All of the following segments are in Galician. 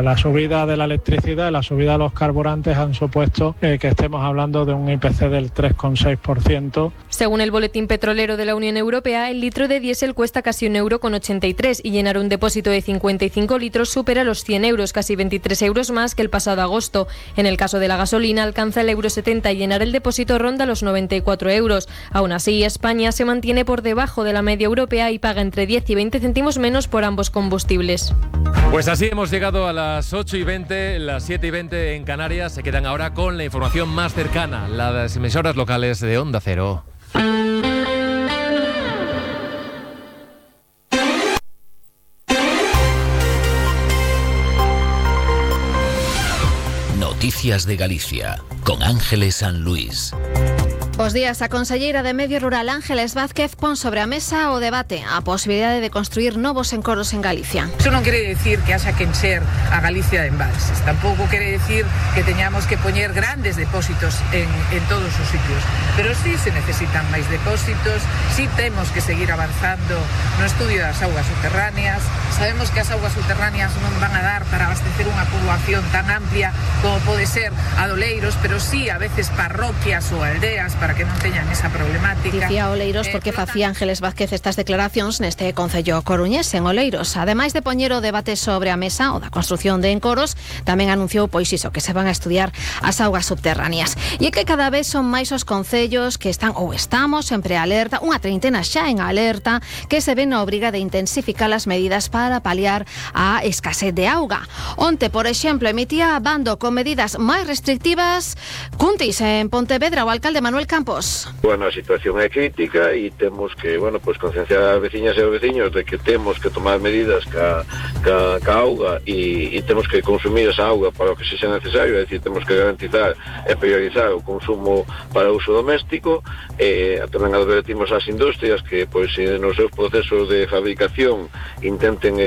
La subida de la electricidad y la subida de los carburantes han supuesto que estemos hablando de un IPC del 3,6%. Según el Boletín Petrolero de la Unión Europea, el litro de diésel cuesta casi €1,83 y llenar un depósito de 55 litros supera los 100 euros, casi 23 euros más que el pasado agosto. En el caso de la gasolina, alcanza el €70 y llenar el depósito ronda los 94 euros. Aún así, España se mantiene por debajo de la media europea y paga entre 10 y 20 céntimos menos por ambos combustibles. Pues así hemos llegado a las 8:20, las 7:20 en Canarias. Se quedan ahora con la información más cercana, las emisoras locales de Onda Cero. Noticias de Galicia, con Ángeles San Luis. Bos días. A conselleira de Medio Rural Ángeles Vázquez pon sobre a mesa o debate a posibilidade de construir novos encoros en Galicia. Eso non quere decir que haxa que encher a Galicia de embalses. Tampouco quere decir que teñamos que poñer grandes depósitos en todos os sitios. Pero sí se necesitan máis depósitos, sí temos que seguir avanzando no estudio das augas subterráneas. Sabemos que as augas subterráneas non van a dar para abastecer unha poboación tan amplia como pode ser a Oleiros, pero sí a veces parroquias ou aldeas para que non teñan esa problemática. Dicía Oleiros porque facía Ángeles Vázquez estas declaracións neste Concello coruñés en Oleiros. Ademais de poñer o debate sobre a mesa o da construción de encoros, tamén anunciou pois iso, que se van a estudiar as augas subterráneas. E é que cada vez son máis os concellos que están ou estamos en prealerta, unha treintena xa en alerta, que se ven na obriga de intensificar as medidas para paliar a escasez de auga. Onte, por exemplo, emitía bando con medidas máis restrictivas. Cuntis, en Pontevedra, o alcalde Manuel Campos. Bueno, a situación é crítica e temos que, concienciar as veciñas e os veciños de que temos que tomar medidas ca auga e temos que consumir esa auga para o que sexa necesario, é dicir, temos que garantizar e priorizar o consumo para uso doméstico. Tamén advertimos ás industrias que, nos seus procesos de fabricación intenten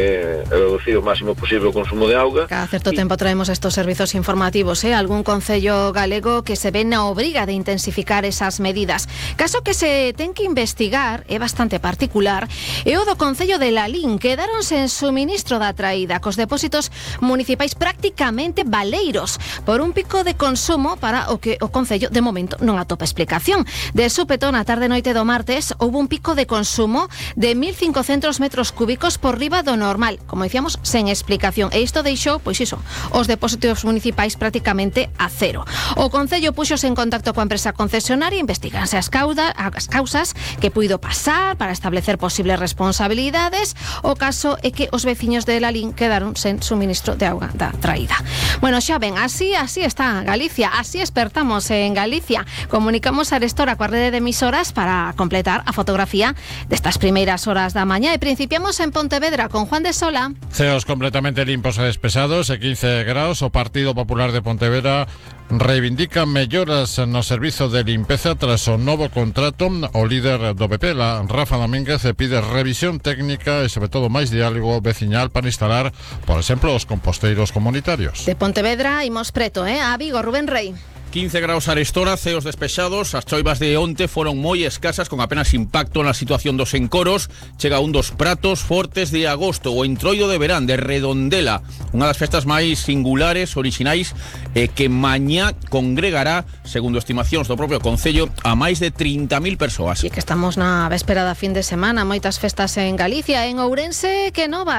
reducir o máximo posible o consumo de auga. Cada certo tempo traemos estos servizos informativos, algún concello galego que se ve na obriga de intensificar esas medidas. Caso que se ten que investigar, é bastante particular, é o do Concello de Lalín. Quedáronse en suministro da traída cos depósitos municipais prácticamente baleiros por un pico de consumo para o que o Concello de momento non atopa explicación. De súpeto, na tarde noite do martes, houve un pico de consumo de 1.500 metros cúbicos por riba do normal, como dicíamos, sen explicación. E isto deixou, os depósitos municipais prácticamente a cero. O Concello puxose en contacto coa empresa concesionaria, investiganse as causas que puido pasar para establecer posibles responsabilidades. O caso é que os veciños de Lalín quedaron sen suministro de auga da traída. Bueno, xa ven, así está Galicia, así espertamos en Galicia. Comunicamos a Arestora coa rede de emisoras para completar a fotografía destas primeiras horas da mañá e principiamos en Pontevedra con Juan de Sola. Ceos completamente limpos e despesados e 15 graus. O Partido Popular de Pontevedra reivindica melloras no servizo de limpeza tras o novo contrato. O líder do PP, Rafa Domínguez, pide revisión técnica e sobre todo máis diálogo veciñal para instalar, por exemplo, os composteiros comunitarios. De Pontevedra imos preto, a Vigo, Rubén Rei. 15 graus Arestora, ceos despexados. As choivas de onte foron moi escasas, con apenas impacto na situación dos encoros. Chega un dos pratos fortes de agosto, o entroido de verán de Redondela, unha das festas máis singulares, orixinais, que mañá congregará, segundo estimacións do propio Concello, a máis de 30.000 persoas. E que estamos na véspera da fin de semana, moitas festas en Galicia. En Ourense,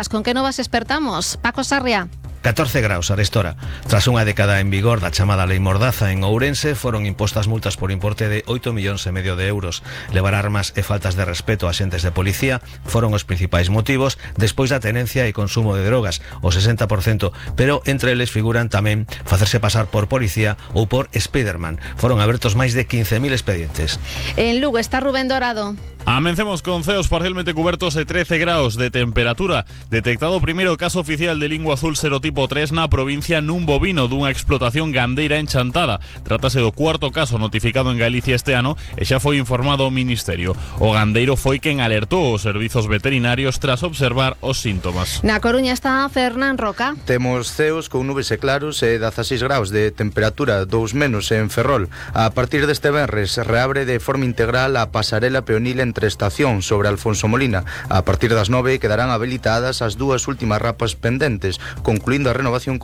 con que novas espertamos? Paco Sarria. 14 graus Arestora. Tras unha década en vigor da chamada Lei Mordaza en Ourense, foron impostas multas por importe de 8,5 millóns de euros. Levar armas e faltas de respeto a axentes de policía foron os principais motivos despois da tenencia e consumo de drogas, o 60%, pero entre eles figuran tamén facerse pasar por policía ou por Spiderman. Foron abertos máis de 15.000 expedientes. En Lugo está Rubén Dorado. Amencemos con ceos parcialmente cubertos e 13 graus de temperatura. Detectado o primeiro caso oficial de lingua azul serotipo 3 na provincia nun bovino dunha explotación gandeira en Chantada. Trátase do cuarto caso notificado en Galicia este ano e xa foi informado o Ministerio. O gandeiro foi quen alertou os servizos veterinarios tras observar os síntomas. Na Coruña está Fernán Roca. Temos ceos con nubes e claros e 16 graus de temperatura, 2 menos en Ferrol. A partir deste venres reabre de forma integral a pasarela peonil entre estación sobre Alfonso Molina. A partir das 9 quedarán habilitadas as dúas últimas rapas pendentes, concluindo a renovación con